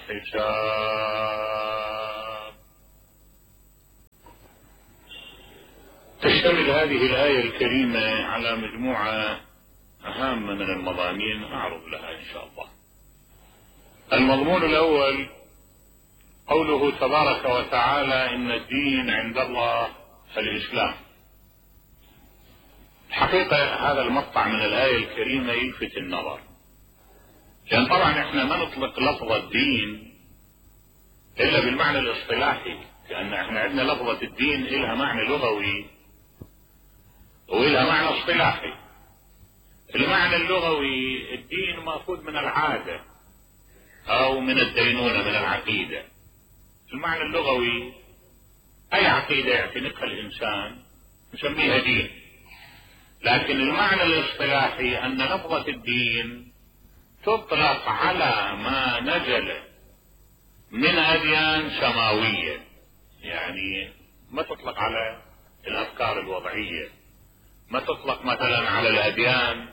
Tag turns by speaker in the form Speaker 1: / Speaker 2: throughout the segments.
Speaker 1: الحساب. تشتمل هذه الآية الكريمة على مجموعة هامة من المضامين أعرض لها إن شاء الله. المضمون الأول قوله تبارك وتعالى إن الدين عند الله الإسلام. الحقيقة هذا المقطع من الآية الكريمة يلفت النظر، لأن طبعا احنا ما نطلق لفظ الدين إلا بالمعنى الاصطلاحي، لأن احنا عندنا لفظة الدين إلها معنى لغوي وإلها معنى اصطلاحي. المعنى اللغوي الدين مأخوذ من العادة أو من الدينونة من العقيدة. المعنى اللغوي أي عقيدة يعتنقها الإنسان نسميها دين، لكن المعنى الاصطلاحي أن لفظة الدين تطلق على ما نزل من أديان سماوية، يعني ما تطلق على الأفكار الوضعية، ما تطلق مثلا على الأديان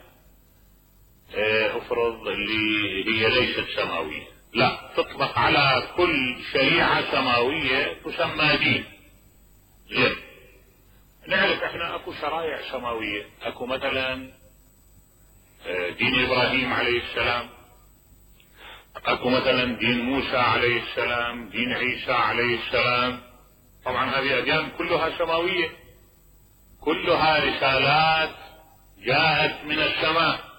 Speaker 1: افرض اللي هي ليست سماوية، لا، تطلق على كل شريعة سماوية تسمى دين. زين، نعرف احنا اكو شرائع سماوية، اكو مثلا دين ابراهيم عليه السلام، اكو مثلا دين موسى عليه السلام، دين عيسى عليه السلام. طبعا هذه اديان كلها سماوية، كلها رسالات جاءت من السماء.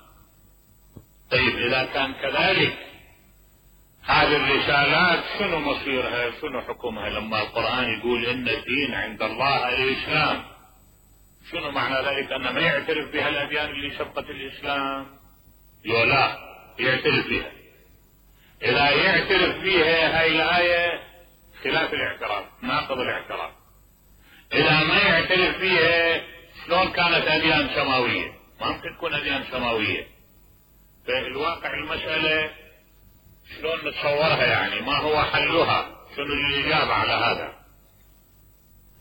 Speaker 1: طيب اذا كان كذلك هذه الرسالات شنو مصيرها، شنو حكمها لما القرآن يقول ان الدين عند الله الاسلام؟ شنو معنى ذلك؟ انه ما يعترف بها الاديان اللي سبقت الاسلام؟ لا، يعترف بها. اذا يعترف بها هاي الايه خلاف الاعتراف، ناقض الاعتراف. اذا ما يعترف بها شلون كانت اديان سماويه؟ ما ممكن تكون اديان سماويه. فالواقع المساله شلون نتصورها، يعني ما هو حلها، شنو الاجابه على هذا؟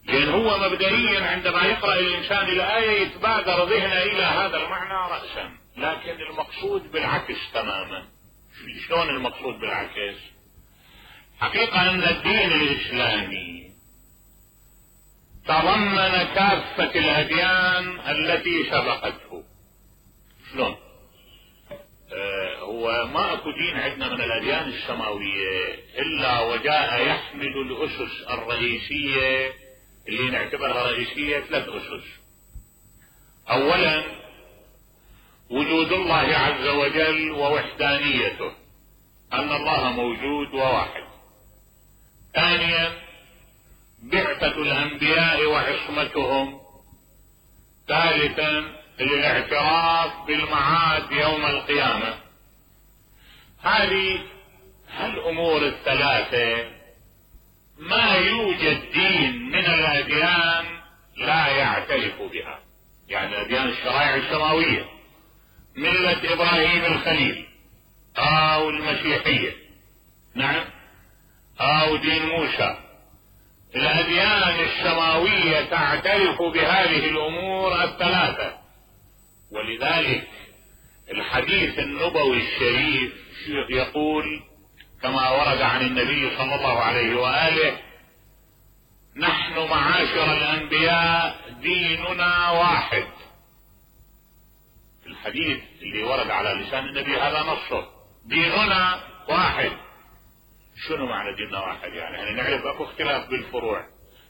Speaker 1: لان هو مبدئيا عندما يقرأ الانسان الايه يتبادر ذهنه الى هذا المعنى رأسا، لكن المقصود بالعكس تماما. شلون المقصود بالعكس؟ حقيقة ان الدين الاسلامي تضمن كافة الاديان التي سبقته. شلون؟ هو ما اكو دين عندنا من الاديان السماوية الا وجاء يحمل الاسس الرئيسية اللي نعتبرها رئيسية، 3 اسس. اولا وجود الله عز وجل ووحدانيته، ان الله موجود وواحد. ثانيا بعثة الانبياء وعصمتهم. ثالثا الاعتراف بالمعاد يوم القيامة. هذه الامور الثلاثة ما يوجد دين من الاديان لا يعترف بها. يعني اديان الشرائع السماوية، ملة ابراهيم الخليل او المسيحية، نعم، او دين موسى، الاديان السماوية تعترف بهذه الامور الثلاثة. ولذلك الحديث النبوي الشريف يقول كما ورد عن النبي صلى الله عليه وآله: نحن معاشر الانبياء ديننا واحد. الحديث اللي ورد على لسان النبي هذا نصه، ديننا واحد. شنو معنى ديننا واحد؟ يعني نعرف اكو اختلاف بالفروع،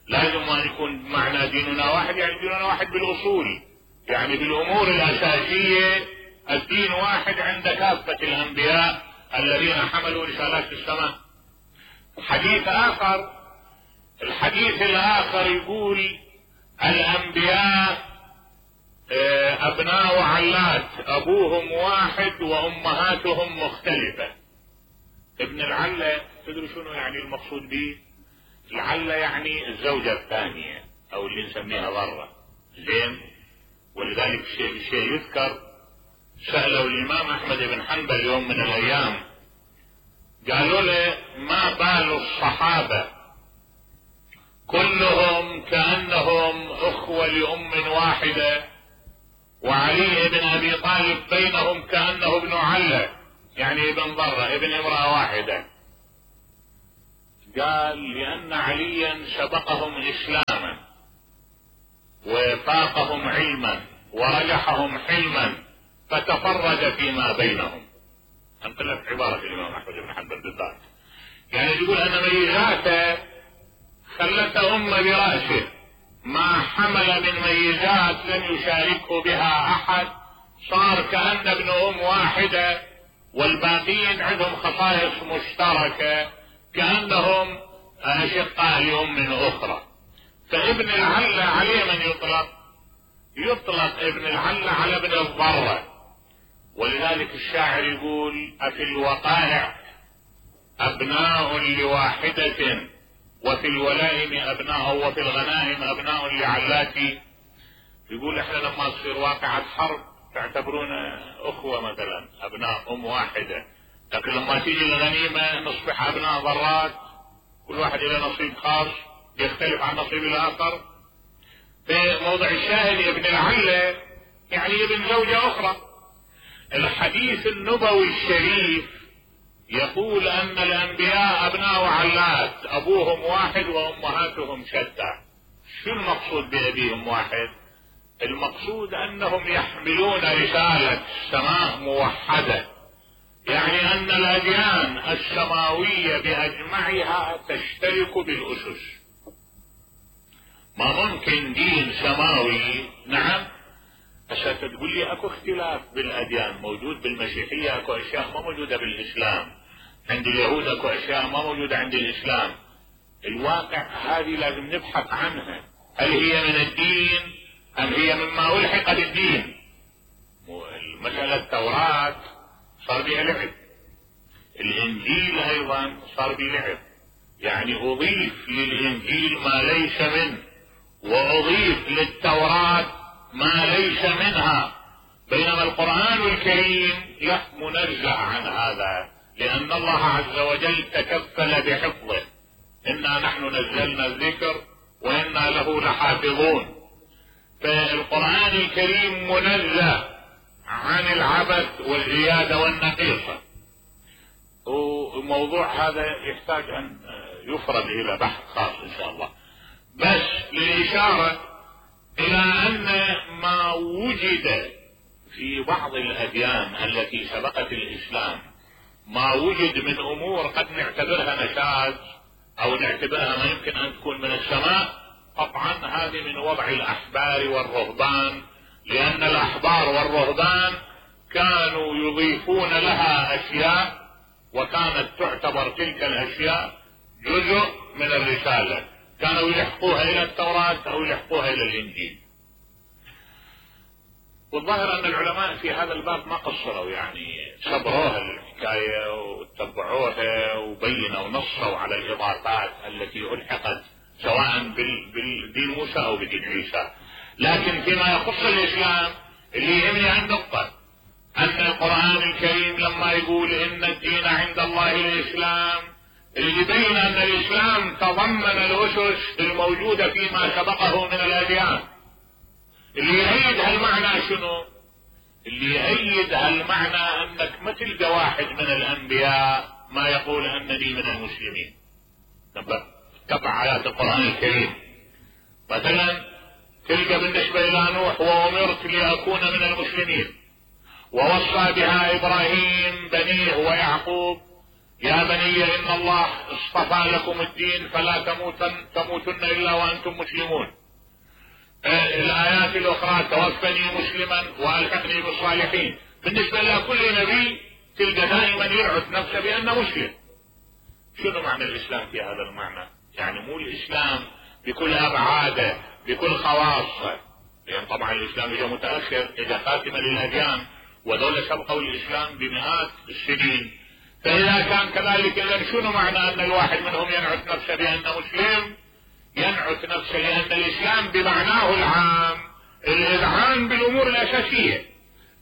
Speaker 1: لازم ان يكون معنى ديننا واحد يعني ديننا واحد بالاصول، يعني بالامور الاساسية الدين واحد عند كافة الانبياء الذين حملوا رسالات السماء. الحديث الاخر يقول الانبياء ابناء علات، ابوهم واحد وامهاتهم مختلفة. ابن العلة تدري شنو يعني المقصود به؟ العلة يعني الزوجة الثانية او اللي نسميها ضرة. زين، ولذلك الشيء يذكر سألوا الامام احمد بن حنبل يوم من الايام، قالوا له: ما بال الصحابة كلهم كأنهم اخوة لام واحدة، وعلي بن ابي طالب بينهم كأنه ابن علة، يعني ابن ضرة، ابن امرأة واحدة. قال لأن عليا سبقهم إسلاما وفاقهم علما ورجحهم حلما فتفرج فيما بينهم. انقلت عبارة الإمام أحمد بن حنبل بالذات، يعني يقول أن ميزاته خلت برأسه، ما حمل من ميزات لم يشاركه بها أحد، صار كأن ابن واحدة والباقين عندهم خصائص مشتركة كأنهم أشقاء لأم أخرى. فابن العلة عليه من يطلق ابن العلة على ابن الضرة، ولذلك الشاعر يقول أفي الوقائع أبناء لواحدة وفي الولائم أبناء وفي الغنائم أبناء لعلاتي. يقول احنا لما تصير واقعة حرب تعتبرونا أخوة مثلا أبناء واحدة، لكن لما تيجي الغنيمة نصبح أبناء ضرات، كل واحد له نصيب خاص يختلف عن نصيب الآخر. في موضع الشاهد ابن العلة يعني ابن زوجة أخرى. الحديث النبوي الشريف يقول أن الأنبياء أبناء علات، أبوهم واحد وأمهاتهم شتى. شو المقصود بأبيهم واحد؟ المقصود أنهم يحملون رسالة السماء موحدة، يعني أن الأديان السماوية بأجمعها تشترك بالأسس. ما ممكن دين سماوي، نعم هسه تقول لي اكو اختلاف بالاديان موجود بالمسيحية، اكو اشياء ما موجودة بالاسلام، عند اليهود اكو اشياء ما موجودة عند الاسلام. الواقع هذه لازم نبحث عنها، هل هي من الدين ام هي مما الحق بالدين؟ المسألة التوراة صار بها لعب، الانجيل ايضا صار بها لعب، يعني اضيف للانجيل ما ليس منه واضيف للتوراة ما ليس منها، بينما القرآن الكريم لا منزه عن هذا، لأن الله عز وجل تكفل بحفظه، إنا نحن نزلنا الذكر وإنا له لحافظون. فالقرآن الكريم منزه عن العبث والزيادة والنقيصة، وموضوع هذا يحتاج أن يفرد إلى بحث خاص إن شاء الله. بس للإشارة إلى أن ما وجد في بعض الأديان التي سبقت الإسلام، ما وجد من أمور قد نعتبرها نشاذ أو نعتبرها ما يمكن أن تكون من السماء، طبعا هذه من وضع الأحبار والرهبان، لأن الأحبار والرهبان كانوا يضيفون لها أشياء وكانت تعتبر تلك الأشياء جزء من الرسالة، كانوا يلحقوها إلى التوراة أو يلحقوها إلى الإنجيل. والظاهر أن العلماء في هذا الباب ما قصروا، يعني صبروها الحكاية وتبعوها وبينوا ونصوا على الإضافات التي ألحقت سواء بالدين موسى أو بدين عيسى. لكن فيما يخص الإسلام اللي يهمني عن نقطة، أن القرآن الكريم لما يقول إن الدين عند الله الإسلام، اللي يبين أن الإسلام تضمن الأسس الموجودة فيما سبقه من الأديان. اللي يأيد هالمعنى شنو؟ اللي يأيد هالمعنى أنك ما تلقى واحد من الأنبياء ما يقول أنني من المسلمين. تبع آيات القرآن الكريم مثلا تلقى بالنسبة إلى نوح وأمرت لأكون من المسلمين، ووصى بها إبراهيم بنيه ويعقوب يا بني إن الله اصطفى لكم الدين فلا تموتن إلا وأنتم مسلمون. الآيات الأخرى توفني مسلما وألحقني بالصالحين. بالنسبة لكل نبي تلقى دائما يرعد نفسه بأنه مسلم. شنو معنى الإسلام في هذا المعنى؟ يعني مو الإسلام بكل أبعاده بكل خواصه، لأن طبعا الإسلام إجا متأخر، إجا خاتمة للأديان، ودولة سبقوا الإسلام بمئات السنين. فإذا كان كذلك إذا شنو معنى أن الواحد منهم ينعت نفسه بأنه مسلم؟ ينعت نفسه لأن الإسلام بمعناه العام الإذعان بالأمور الأساسية.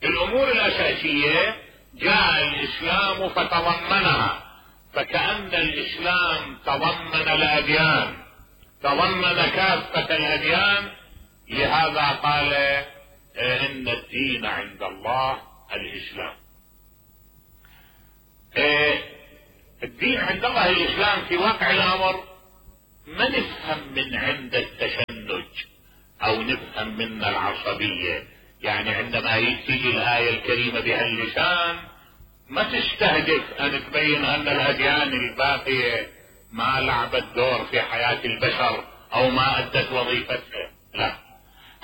Speaker 1: الأمور الأساسية جاء الإسلام فتضمنها، فكأن الإسلام تضمن الأديان، تضمن كافة الأديان. لهذا قال إن الدين عند الله الإسلام. الدين الدين عند الله الإسلام في واقع الأمر ما نفهم من عند التشنج أو نفهم من العصبية. يعني عندما تيجي الآية الكريمة بهاللسان ما تستهدف أن تبين أن الأديان الباقية ما لعبت دور في حياة البشر أو ما أدت وظيفتها، لا.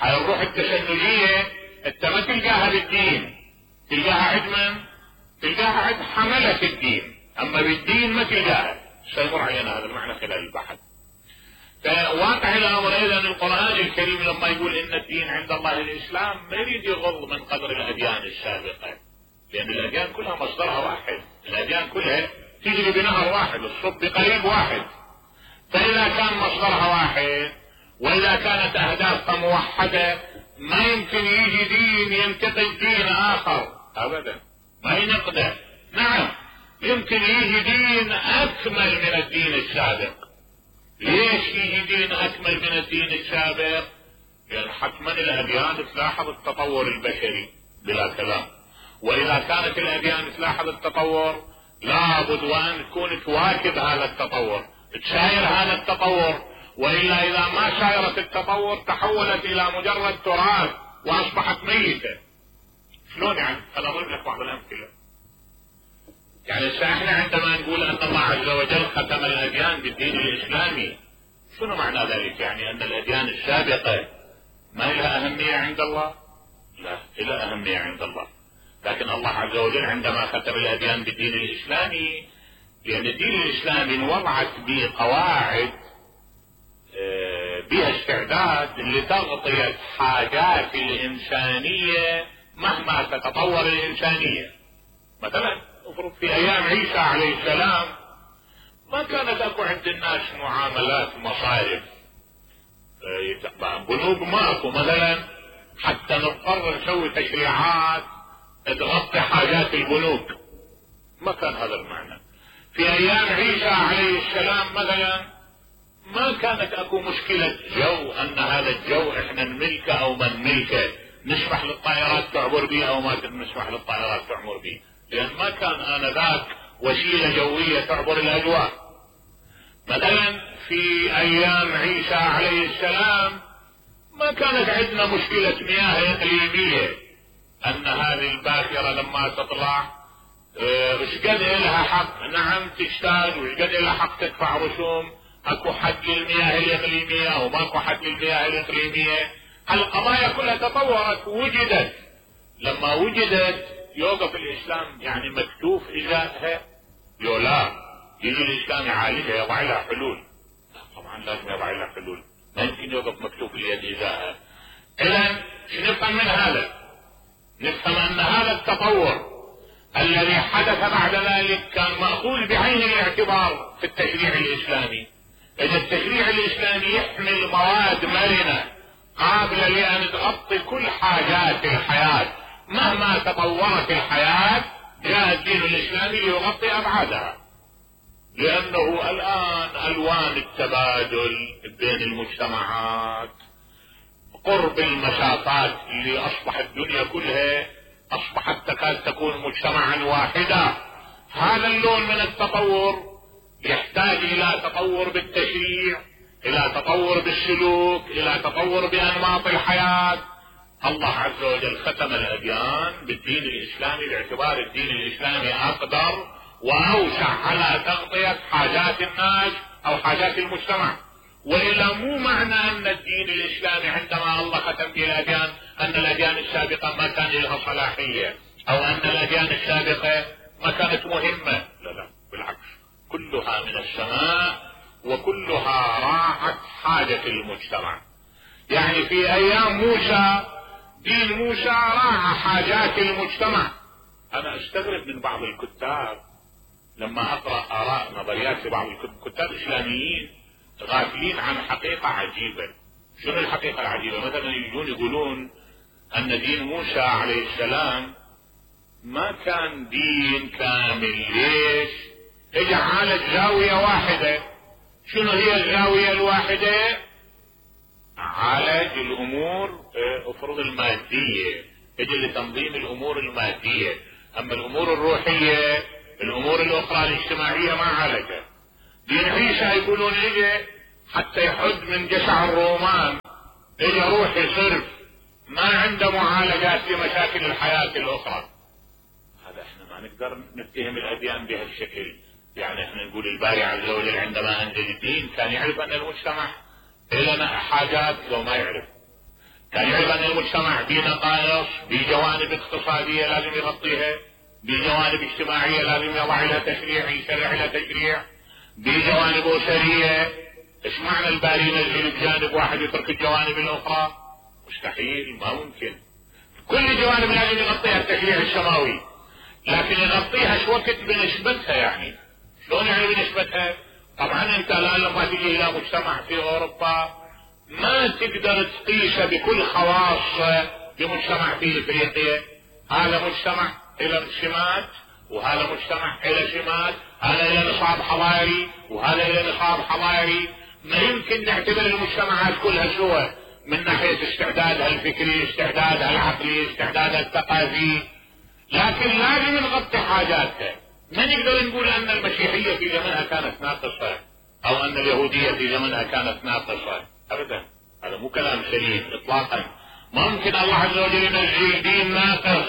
Speaker 1: هاي الروح التشنجية انت ما تلقاها بالدين، تلقاها عند من؟ تلقاها عند حملة الدين، أما بالدين ما تلقاها. سيمر علينا هذا المعنى خلال البحث. فواقع الأمر أيضا القرآن الكريم لما يقول إن الدين عند الله الإسلام ما يريد يغض من قدر الأديان السابقة، لأن الأديان كلها مصدرها واحد، الأديان كلها تجري بنهر واحد، الصب بقريب واحد. فإذا كان مصدرها واحد وإذا كانت أهدافها موحدة ما يمكن يجي دين ينتقد دين آخر أبدا، ما ينقده. نعم يمكن يجي دين أكمل من الدين السابق. ليش يجي دين أكمل من الدين السابق؟ يعني حتما الأديان تلاحظ التطور البشري بلا كلام، وإذا كانت الأديان تلاحظ التطور لابد وأن تكون تواكب هذا التطور، تشاير هذا التطور، وإلا إذا ما شايرت التطور تحولت إلى مجرد تراث وأصبحت ميتة. شلون يعني؟ أنا أضرب لك بعض الأمثلة. يعني احنا عندما نقول أن الله عز وجل ختم الأديان بالدين الإسلامي، شنو معنى ذلك؟ يعني أن الأديان السابقة ما لها أهمية عند الله؟ لا، لها أهمية عند الله، لكن الله عز وجل عندما ختم الأديان بالدين الإسلامي، لأن الدين الإسلامي وضعت به قواعد بها استعداد لتغطية حاجات الإنسانية مهما تتطور الإنسانية. مثلا افرض في أيام عيسى عليه السلام ما كانت أكو عند الناس معاملات مصارف، بنوك ماكو مثلا حتى نضطر نسوي تشريعات تغطي حاجات البنوك، ما كان هذا المعنى. في أيام عيسى عليه السلام مثلا ما كانت اكو مشكلة جو ان هذا الجو احنا نملكه او ما نملكه، نسمح للطائرات تعبر به او ما نسمح للطائرات تعبر به، لان ما كان انذاك وسيلة جوية تعبر الاجواء. مثلا في ايام عيسى عليه السلام ما كانت عندنا مشكلة مياه اقليمية، ان هذه الباخرة لما تطلع ايش قد لها حق نعم تشتاق، وايش قد لها حق تدفع رسوم، اكو حد للمياه الاقليمية او ماكو حد للمياه الاقليمية. القضايا كلها تطورت ووجدت، لما وجدت يوقف الاسلام يعني مكتوف ازائها؟ لا، يجي الاسلام يعالجها يضع لها حلول. طبعا لازم يضع لها حلول، ما يمكن يوقف مكتوف اليد ازائها. اذا شو نفهم من هذا؟ نفهم ان هذا التطور الذي حدث بعد ذلك كان مأخوذ بعين الاعتبار في التشريع الاسلامي. إذا التشريع الإسلامي يحمل مواد مرنة قابلة لأن تغطي كل حاجات الحياة مهما تطورت الحياة، جاء الدين الإسلامي ليغطي أبعادها، لأنه الآن ألوان التبادل بين المجتمعات، قرب المسافات اللي أصبحت الدنيا كلها أصبحت تكاد تكون مجتمعا واحدا. هذا اللون من التطور يحتاج الى تطور بالتشريع، الى تطور بالسلوك، الى تطور بانماط الحياة. الله عز وجل ختم الاديان بالدين الاسلامي باعتبار الدين الاسلامي اقدر واوسع على تغطية حاجات الناس او حاجات المجتمع. والا مو معنى ان الدين الاسلامي عندما الله ختم به الاديان ان الاديان السابقة ما كان لها صلاحية او ان الاديان السابقة ما كانت مهمة، لا بالعكس، كلها من السماء وكلها راعت حاجة المجتمع. يعني في ايام موسى دين موسى راعى حاجات المجتمع. انا استغرب من بعض الكتاب لما اقرأ اراء نظريات لبعض الكتاب الاسلاميين غافلين عن حقيقة عجيبة. شنو الحقيقة العجيبة؟ مثلا يجون يقولون ان دين موسى عليه السلام ما كان دين كامل. ليش؟ اجى عالج زاوية واحدة. شنو هي الزاوية الواحدة؟ عالج الامور افرض المادية، اجى لتنظيم الامور المادية، اما الامور الروحية الامور الاخرى الاجتماعية ما عالجها. دين عيسى يقولون اجى حتى يحد من جشع الرومان، اجى روحي صرف، ما عنده معالجات لمشاكل الحياة الاخرى. هذا احنا ما نقدر نتهم الاديان بهالشكل. يعني احنا نقول الباري عز وجل عندما انزل الدين كان يعرف ان المجتمع لنا حاجات لو ما يعرف، كان يعرف ان المجتمع به نقائص، بجوانب اقتصادية لازم يغطيها، بجوانب اجتماعية لازم يضع لها تشريع، يشرع لها تشريع، بجوانب اسرية. ايش معنى الباري ينزل بجانب واحد يترك الجوانب الاخرى؟ مستحيل، ما ممكن. كل جوانب لازم يغطيها التشريع السماوي، لكن يغطيها شو وقت بنسبتها. يعني شلون يعني بنسبتها؟ طبعا انت الان لما تجي الى مجتمع في اوروبا ما تقدر تقيسه بكل خواصه بمجتمع في افريقيا. هذا مجتمع الى سمات وهذا مجتمع الى سمات، هذا الى نصاب حضاري وهذا الى نصاب حضاري. ما يمكن نعتبر المجتمعات كلها سوا من ناحية استعدادها الفكري، استعدادها العقلي، استعدادها الثقافي، لكن لازم نغطي حاجاتها. ما نقدر نقول ان المسيحية في زمنها كانت ناقصة او ان اليهودية في زمنها كانت ناقصة، ابدا، هذا مو كلام سليم اطلاقا. ممكن الله عز وجل ينزل دين ناقص،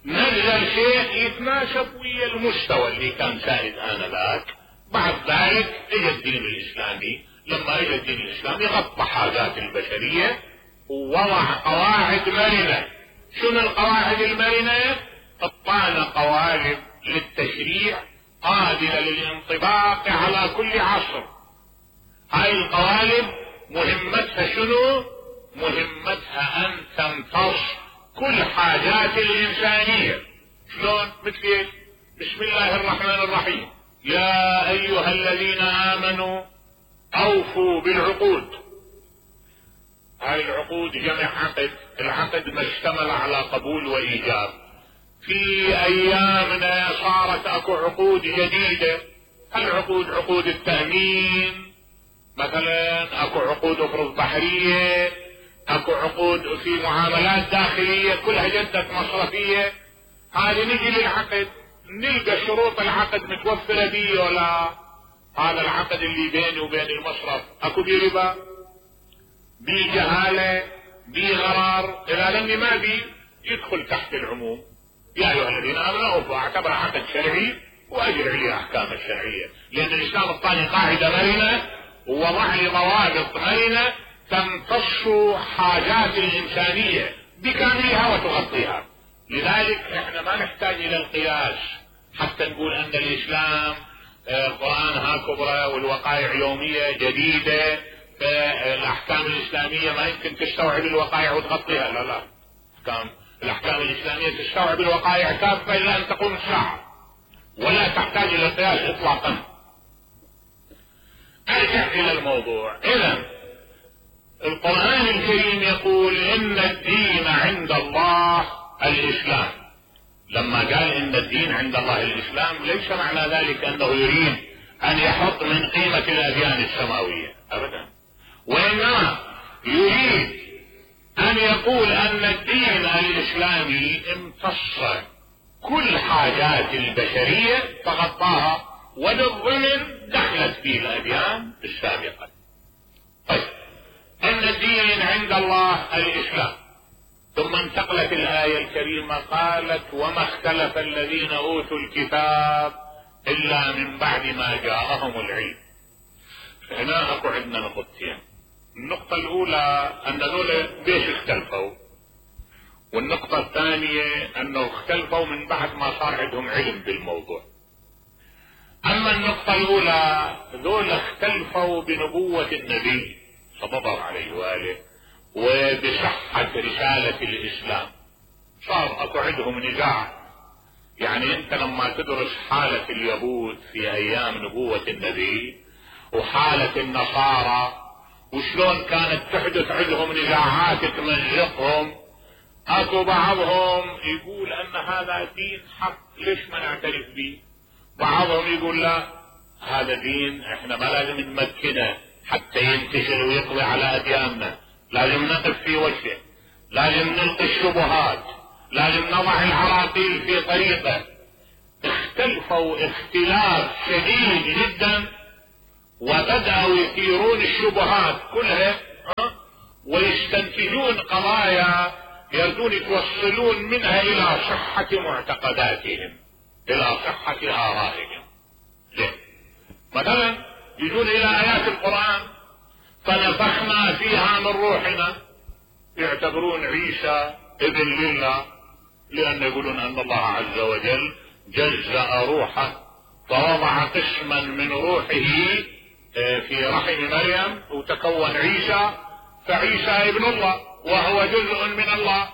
Speaker 1: نزل شيء يتناسب ويا المستوى اللي كان سائد انذاك. بعد ذلك اجى الدين الاسلامي، لما اجى الدين الاسلامي غطى حاجات البشرية ووضع قواعد مرنة. شنو القواعد المرنة؟ اعطانا قوالب للتشريع قابلة للانطباق على كل عصر. هاي القوالب مهمتها شنو؟ مهمتها ان تمتص كل حاجات الانسانية. شلون؟ مثل ايش؟ بسم الله الرحمن الرحيم، يا ايها الذين امنوا اوفوا بالعقود. هاي العقود جمع عقد، العقد ما اشتمل على قبول وايجاب. في ايامنا صارت اكو عقود جديدة. العقود عقود التأمين مثلا، اكو عقود افرض بحرية، اكو عقود في معاملات داخلية كلها جدت مصرفية. هذه نجي للعقد نلقى شروط العقد متوفرة بيه ولا؟ هذا العقد اللي بيني وبين المصرف اكو بيه ربا، بيه جهالة، بيه غرار، اذا لاني ما بيه يدخل تحت العموم. يا ايها الذين امنوا اوفوا، اعتبر عقد شرعي واجر عليه احكام الشرعية، لان الاسلام الثاني قاعدة مرنة ووضع لي ضوابط مرنة تمتص حاجات الانسانية بكاملها وتغطيها. لذلك احنا ما نحتاج الى القياس حتى نقول ان الاسلام القرآن ها كبرى والوقائع يومية جديدة، فالاحكام الاسلامية ما يمكن تستوعب الوقائع وتغطيها. لا لا، الاحكام الاسلامية تستوعب الوقائع كافة الى ان تقوم الساعة، ولا تحتاج الى القياس اطلاقا. ارجع الى الموضوع. اذا القرآن الكريم يقول ان الدين عند الله الاسلام. لما قال ان الدين عند الله الاسلام ليس معنى ذلك انه يريد ان يحط من قيمة الاديان السماوية ابدا، وانما يريد ان يقول ان الدين الاسلامي امتص كل حاجات البشرية تغطاها، وبالضمن دخلت فيه الاديان السابقة. طيب، ان الدين عند الله الاسلام. ثم انتقلت الآية الكريمة قالت وما اختلف الذين اوتوا الكتاب الا من بعد ما جاءهم العلم. هنا اكو عندنا نقطتين. النقطة الاولى ان دول ليش اختلفوا، والنقطة الثانية انه اختلفوا من بعد ما صار عندهم علم بالموضوع. اما النقطة الاولى، دول اختلفوا بنبوة النبي صلى الله عليه وآله وبصحة رسالة الاسلام. صار اكو عندهم نزاع. يعني انت لما تدرس حالة اليهود في ايام نبوة النبي وحالة النصارى وشلون كانت تحدث عندهم نزاعات تمزقهم، اكو بعضهم يقول ان هذا دين حق ليش ما نعترف به، بعضهم يقول لا هذا دين احنا ما لازم نمكنه حتى ينتشر ويقضي على ادياننا، لازم نقف في وجهه، لازم نلقي الشبهات، لازم نضع العراقيل في طريقه. اختلفوا اختلاف شديد جدا، وبدأوا يثيرون الشبهات كلها ويستنتجون قضايا يردون يتوصلون منها الى صحة معتقداتهم، الى صحة آرائهم. مثلا يجون الى ايات القرآن فنفخنا فيها من روحنا، يعتبرون عيسى ابن لله، لان يقولون ان الله عز وجل جزأ روحه فوضع قسما من روحه في رحم مريم وتكون عيسى، فعيسى ابن الله وهو جزء من الله،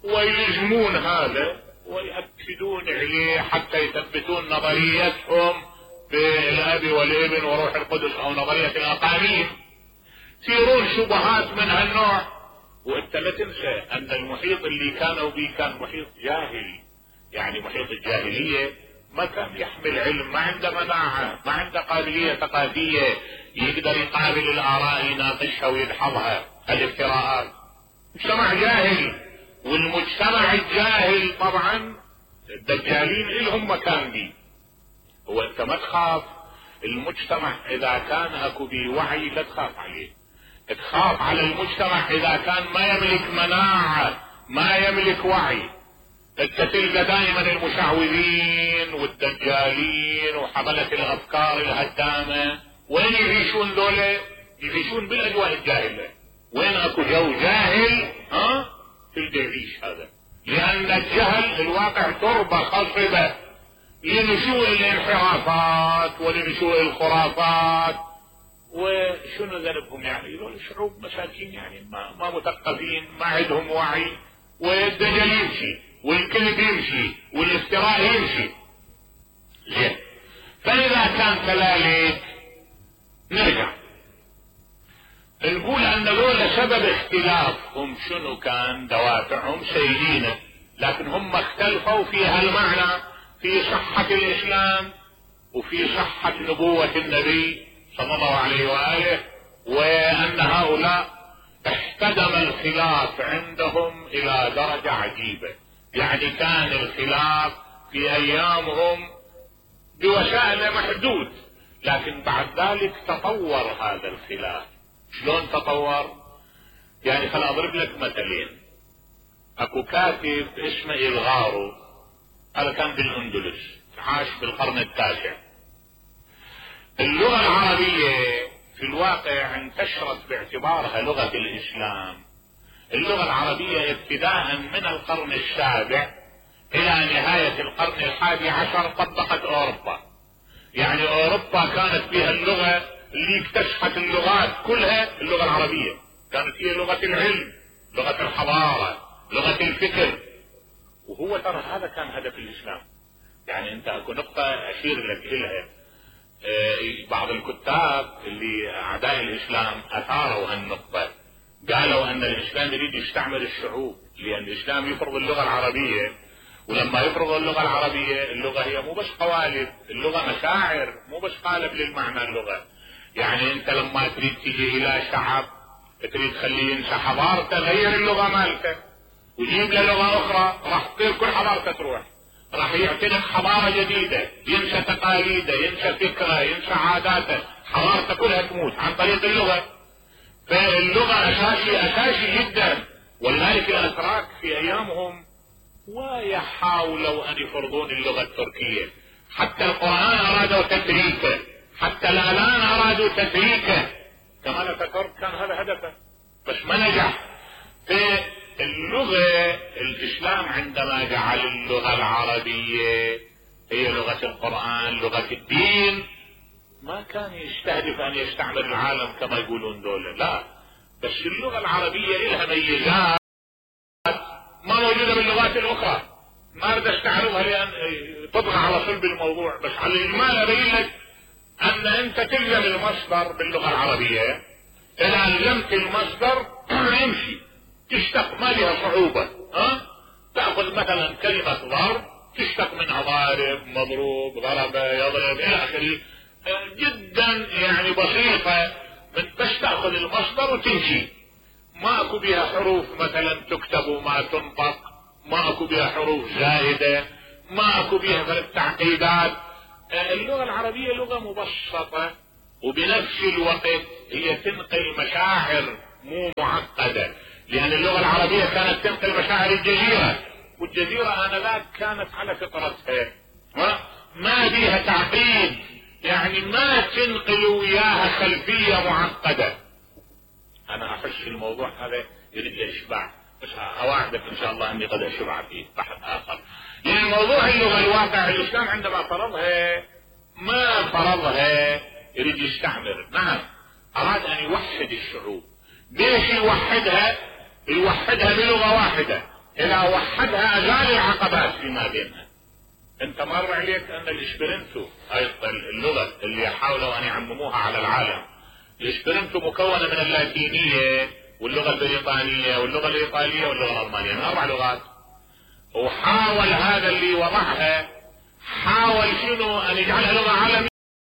Speaker 1: ويلزمون هذا ويأكدون عليه حتى يثبتون نظريتهم بالاب والابن وروح القدس او نظرية الاقانيم، يثيرون شبهات من هالنوع. وانت لا تنسى ان المحيط اللي كانوا به كان محيط جاهلي، يعني محيط الجاهلية ما كان يحمل علم، ما عنده مناعة، ما عنده قابلية ثقافية يقدر يقابل الآراء يناقشها ويدحضها، الافتراءات. مجتمع جاهل، والمجتمع الجاهل طبعا الدجالين لهم مكان بي. هو انت ما تخاف المجتمع اذا كان اكو بي وعي، لا تخاف عليه، تخاف على المجتمع اذا كان ما يملك مناعة، ما يملك وعي. انت تلقى دائما المشعوذين والدجالين وحملة الافكار الهدامة وين يعيشون ذولا؟ يعيشون بالاجواء الجاهلة. وين اكو جو جاهل تلقى يعيش هذا، لان الجهل الواقع تربة خصبة لنشوء الانحرافات ولنشوء الخرافات. وشنو ذنبهم يعني؟ ذول شعوب مساكين يعني ما مثقفين، ما عندهم وعي، والدجل يمشي والكذب يمشي والافتراء يمشي. زين، فاذا كان كذلك نرجع نقول ان ذول سبب اختلافهم شنو كان؟ دوافعهم سيدينه، لكن هم اختلفوا في هالمعنى، في صحة الاسلام وفي صحة نبوة النبي صلى الله عليه وآله، وان هؤلاء احتدم الخلاف عندهم الى درجة عجيبة. يعني كان الخلاف في ايامهم بوسائل محدود، لكن بعد ذلك تطور هذا الخلاف. شلون تطور؟ يعني خل اضرب لك مثلين. اكو كاتب اسمه إلغارو، هذا كان بالاندلس، عاش بالقرن التاسع. اللغة العربية في الواقع انتشرت باعتبارها لغة الاسلام. اللغة العربية ابتداء من القرن السابع الى نهاية القرن ال11 طبقت اوروبا. يعني اوروبا كانت فيها اللغة اللي اكتشفت اللغات كلها، اللغة العربية كانت هي لغة العلم، لغة الحضارة، لغة الفكر. وهو ترى هذا كان هدف الاسلام. يعني انت اكو نقطة اشير لك الها، بعض الكتاب اللي اعداء الاسلام اثاروا هالنقطة، قالوا ان الاسلام يريد يستعمر الشعوب، لان الاسلام يفرض اللغة العربية، ولما يفرض اللغة العربية، اللغة هي مو بس قوالب، اللغة مشاعر، مو بس قالب للمعنى اللغة. يعني انت لما تريد تجي الى شعب تريد تخليه ينسى حضارته، غير اللغة مالته وجيب له لغة اخرى، راح تصير كل حضارته تروح، راح يعتنق حضارة جديدة، ينسى تقاليده، ينسى فكره، ينسى عاداته، حضارته كلها تموت عن طريق اللغة. فاللغة اساسي جدا. ولذلك الاتراك في ايامهم ويحاولوا ان يفرضون اللغة التركية، حتى القرآن ارادوا تتريكه، حتى الاعلان ارادوا تتريكه. كما ذكرت كان هذا هدفه بس ما نجح. في اللغة الاسلام عندما جعل اللغة العربية هي لغة القرآن، لغة الدين، ما كان يستهدف ان يستعمر العالم كما يقولون دولة، لا، بس اللغة العربية لها ميزات ما موجودة باللغات الاخرى. ما اريد استعرضها لان تطغى على صلب الموضوع، بس على الاجمال ابين لك ان انت تلزم المصدر باللغة العربية، اذا لزمت المصدر يمشي، تشتق، ما لها صعوبة. تأخذ مثلا كلمة ضرب تشتق منها ضارب، مضروب، ضرب، يضرب الى اخره، جدا يعني بسيطة، من بس تأخذ المصدر وتمشي. ما اكو بها حروف مثلا تكتب وما تنطق، ما اكو بها حروف زائدة، ما اكو بيها غير التعقيدات. اللغة العربية لغة مبسطة وبنفس الوقت هي تنقل مشاعر مو معقدة، لان اللغة العربية كانت تنقل مشاعر الجزيرة، والجزيرة انذاك كانت على فطرتها ما بيها تعقيد، يعني ما تنقل وياها خلفية معقدة. انا احس الموضوع هذا يريد اشباع، بس اوعدك ان شاء الله اني قد اشبع فيه بحث اخر. يعني موضوع اللغة الواقع الاسلام عندما فرضها ما فرضها يريد يستعمر، نعم اراد ان يوحد الشعوب. ليش يوحدها؟ يوحدها بلغة واحدة، اذا وحدها ازال العقبات فيما بينها. انت مر عليك ان الاسبرنتو ايضا اللغة اللي حاولوا ان يعمموها على العالم، الاسبرنتو مكونة من اللاتينية واللغة البريطانية واللغة الايطالية واللغة الالمانية، من 4 لغات. وحاول هذا اللي وضعها حاول شنو ان يجعلها لغة عالمية.